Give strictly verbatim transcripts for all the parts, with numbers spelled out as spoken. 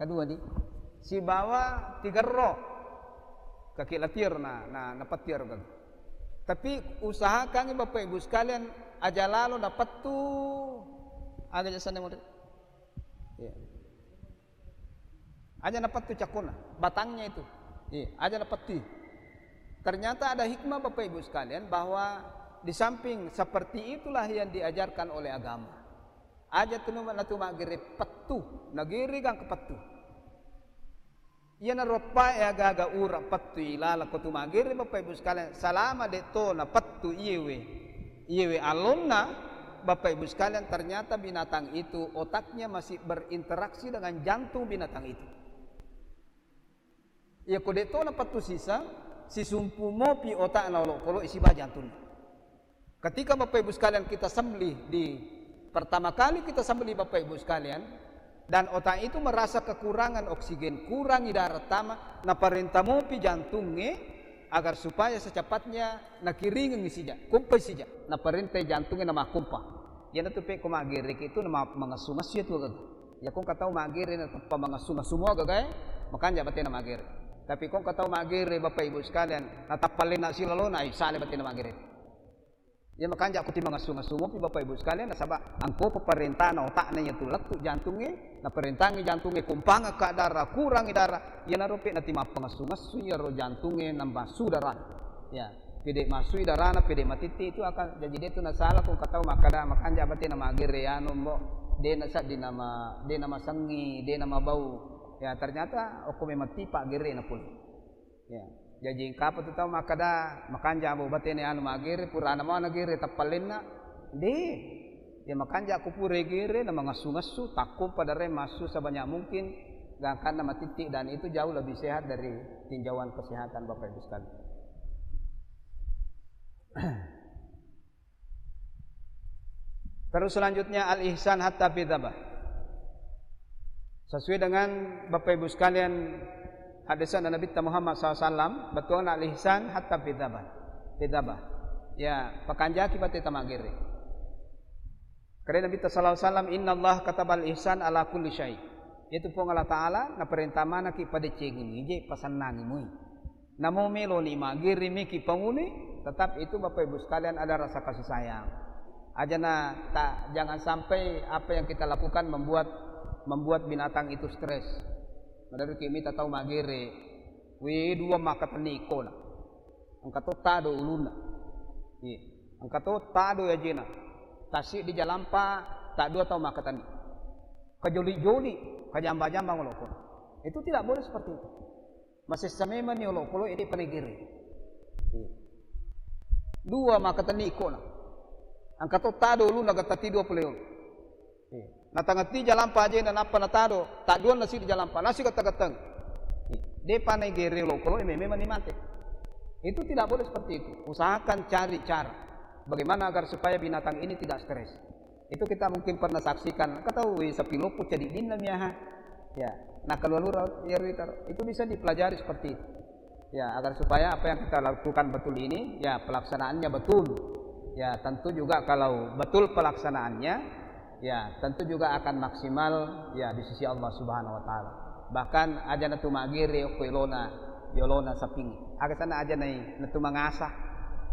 Dua ni. Sibawa tigerro. Kaki latier na, na, na petir kan. Tapi usahakan Bapak Ibu sekalian, aja lalo na pettu. Aga jasana model. Iya. Aja na pettu cakuna, batangnya itu. Iya, aja na pettu. Ternyata ada hikmah Bapak Ibu sekalian bahwa di samping seperti itulah yang diajarkan oleh agama. Aja tu numa-, natu maggere pettu, nagere gangka pettu. Iyana roppa e aga-aga ura pettu ilala ko tu maggere Bapak Ibu sekalian, salama de to na pettu iyewe, iyewe alonna Bapak Ibu sekalian, ternyata binatang itu otaknya masih berinteraksi dengan jantung binatang itu. Iya ko de to na pettu sisa, sisumpu mopi otakna olokolo isi ba jantung. Ketika Bapak Ibu sekalian kita sembelih di, pertama kali kita sembelih Bapak Ibu sekalian, dan otak itu merasa kekurangan oksigen, kurangi darah tama, naparenta mopi jantungnge agar supaya secepatnya nakiringeng sija, kumpai sija, naparenta jantungnge namakumpa. Iyanatu pe ko magereki itu nama mangessu-ngessu itu. Ya, kong katau magere na tappa mangessu-ngessu mua gagae, makanja batena magere. Tapi kong katau magere, Bapak Ibu sekalian, na tappa lena silalona, ai sale batena magere. Ya, makanja ku ti mangessu-ngessu mupi, Bapak Ibu sekalian, nasaba angko peparentana otakna ya tu lettu jantungnge, naparentangi jantungnge kumpanga ka darah, kurangi darah, ya narope nati mappangessu-ngessu ya ro jantungnge nambassu darah. Ya. Pede massui darana, pede matitti itu akan jaji de tu nasala kong katau makkada makanja batena magere anu mbo, de nasaddi nama, de namasengi, de namabau. Ya, ternyata okko memang tipa gere na pole. Ya. Jaji engkapa tu tau makkada makanja mbo batena anu magere, purana mau nagere tappalenna. De. Ya, makanja ku pura gere na mangessu-ngessu, takko pada re massu sebanyak mungkin, gangkanna matitti, dan itu jauh lebih sehat dari tinjauan kesehatan Bapak Ibu sekalian. Terus selanjutnya al-ihsan hatta fi dzabah. Sesuai dengan Bapak Ibu sekalian hadisan Nabi Muhammad sallallahu alaihi wasallam, betul al-ihsan hatta fi dzabah. Fi dzabah. Ya, pakanjaki pate tamagere. Kare Nabi sallallahu alaihi wasallam, "Innallaha katabal ihsan ala kulli syai." Itu Puang Allah Ta'ala naparenta manaki padecengi mije pasannangi mui. Namo melo ni magiri miki panguni, tetap itu Bapak Ibu sekalian ada rasa kasih sayang. Aja na ta, jangan sampai apa yang kita lakukan membuat, membuat binatang itu stres. Menurut kimi tatau magere, we dua maka teniko na. Engka to tado ulunna. Iya. Engka to tado ajena. Tasi di jalampa, tak dua tau makkatani. Kajoli-joli, kajamba-jamba ngoloko. Itu tidak boleh seperti itu. Masessa memang ni olokolo ede panegere. Iya. Dua makkatani ikona. Engka to tado ulunna gattati dua pole. Iya. Natangati jalampa ajena nappa natado, tadduanna sidi jalampa, nasi gatta-gattang. Iya. Depa naigere olokolo, eh, memang ni mate. Itu tidak boleh seperti itu. Usahakan cari cara bagaimana agar supaya binatang ini tidak stres. Itu kita mungkin pernah saksikan, engka tau sapi loppo cadiddinna miaha. Ya, nah, kalau lura, ya, itu bisa dipelajari seperti itu. Ya, agar supaya apa yang kita lakukan betul ini, ya, pelaksanaannya betul. Ya, tentu juga kalau betul pelaksanaannya, ya, tentu juga akan maksimal, ya, di sisi Allah Subhanahu wa Ta'ala. Bahkan aja natu magere okko yolona, yolona saping. Aga sana aja nai natu mangasa.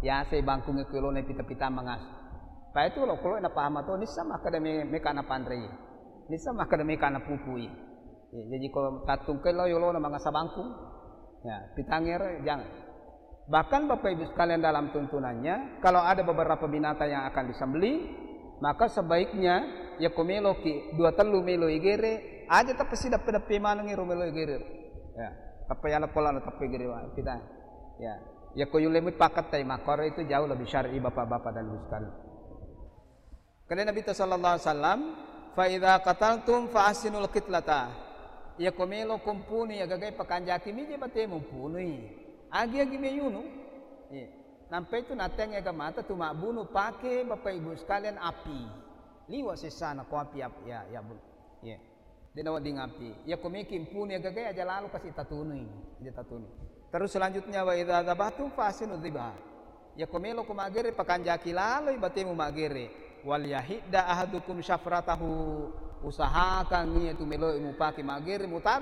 Ya, sai bangkung okko yolona pita-pita mangasa. Pa itu lo, kalau na paham to, nissa makkada me-, meka na panrei. Nissa makkada meka na pupui. Ya, jadi kalau tattungkai lo yolona mangasa bangkung, ya, pitangero, jangan. Bahkan Bapak Ibu sekalian, dalam tuntunannya, kalau ada beberapa binatang yang akan disembelih, maka sebaiknya, ya, ko meloki dua tellu melo igere, aja tappa sideppe-deppe manengi ro melo igere. Ya, tappa yala pola tappa igere wa-, kita. Ya, ya, ko yulemu pakattai makkoro itu jauh lebih syar'i, Bapak-bapak dan Ibu sekalian. Kade Nabi ta sallallahu alaihi wasallam, "Fa idza qataltum fa ahsinul qitlata." Iya ko melo ko mpunu, iya gagai pakanjaki mije batemu mpunui. Agi-agi meyunu. Iya. Nampai tu nateng aga mata tu mabbunu pake Bapak Ibu sekalian api. Liwa sessana ko api ap-, ya, ya bu-, iya. De nawedding api. Iya ko meki mpunu iya gagai aja lalo kasi tatunui. Aja tatunui. Terus selanjutnya, "Wa idza dzabahtum fa ahsinu dzibha." Iya ko melo ko magere, pakanjaki laloi batemu magere. "Wal yahidda ahadukum syafratahu." Usahakan iya tu melo mupake magere, muta-,